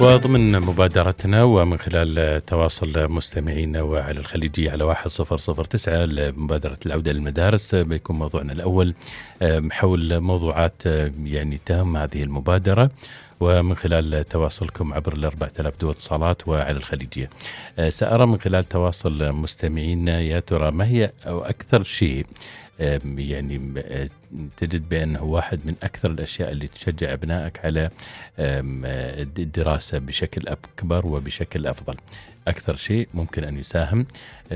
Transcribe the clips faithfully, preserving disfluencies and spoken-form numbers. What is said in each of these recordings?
وضمن مبادرتنا ومن خلال تواصل مستمعينا وعلى الخليجية على واحد صفر صفر تسعة لمبادرة العودة للمدارس، بيكون موضوعنا الأول حول موضوعات يعني تهم هذه المبادرة، ومن خلال تواصلكم عبر الأربعة آلاف دو اتصالات وعلى الخليجية. سأرى من خلال تواصل مستمعينا يا ترى ما هي أو أكثر شيء يعني تجد بأنه واحد من أكثر الأشياء اللي تشجع أبنائك على الدراسة بشكل أكبر وبشكل أفضل. أكثر شيء ممكن أن يساهم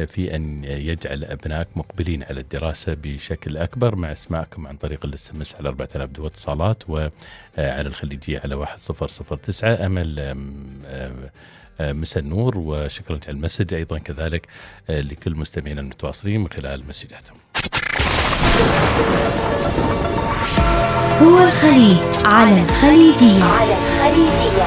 في أن يجعل أبنائك مقبلين على الدراسة بشكل أكبر مع اسماعكم عن طريق الاس ام اس على أربعة آلاف دو اتصالات وعلى الخليجية على واحد صفر صفر تسعة. أمل مساء النور وشكرا على المسج، أيضا كذلك لكل مستمعين المتواصلين من خلال مسجاتهم. هو الخليج على الخليجية. على الخليجية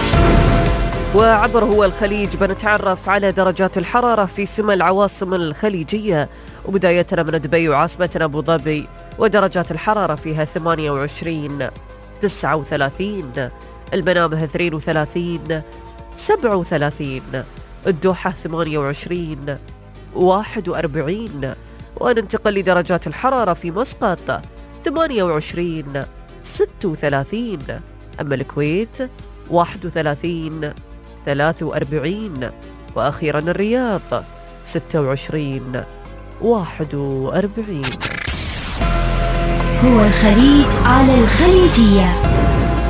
وعبر هو الخليج بنتعرف على درجات الحرارة في سمى العواصم الخليجية، وبدايتنا من دبي وعاصمتنا أبو ظبي، ودرجات الحرارة فيها ثمانية وعشرين، تسعة وثلاثين، المنامة اثنين وثلاثين، سبعة وثلاثين، الدوحة ثمانية وعشرين، واحد وأربعين. وننتقل لدرجات الحرارة في مسقط ثمانية وعشرين، ستة وثلاثين، أما الكويت واحد وثلاثين، ثلاثة وأربعين، وأخيرا الرياض ستة وعشرين، واحد وأربعين. هو الخليج على الخليجية.